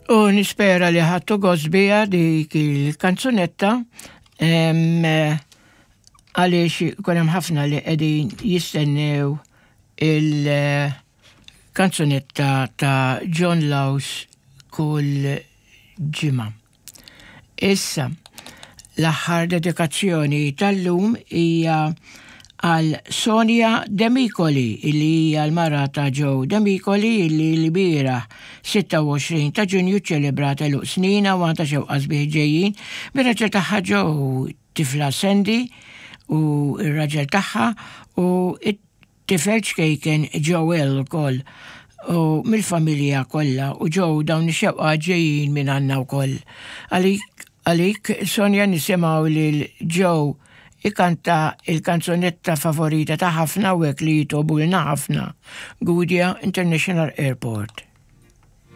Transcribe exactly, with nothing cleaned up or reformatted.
U nispera li ħadtu gost biha dik il-kanzunetta, għaliex kien hemm ħafna li qegħdin jistennew il-kanzunetta ta' John Laus kull ġimgħa. Issa, l-aħħar dedikazzjoni tal-lum hija għal Sonja Demicoli, illi hija l-mara ta' Joe Demicoli, illi l-bieraħ sitta u għoxrin ta' Ġunju ċelebrat għeluq snina u għandha xewqa sbieħ ġejjin bir-raġel tagħha Joe, tifla Sandy u r-raġel tagħha u it-tifel ċkejken Joel ukoll u mill-familja kollha. U Joe, dawn ix-xewqa ġejjin minn għandna wkoll. Għalik għalik Sonja, nisimgħu lil Joe ikanta il-kanzunetta favorita ta' ħafna u li jitobulna ħafna, Gudja International Airport.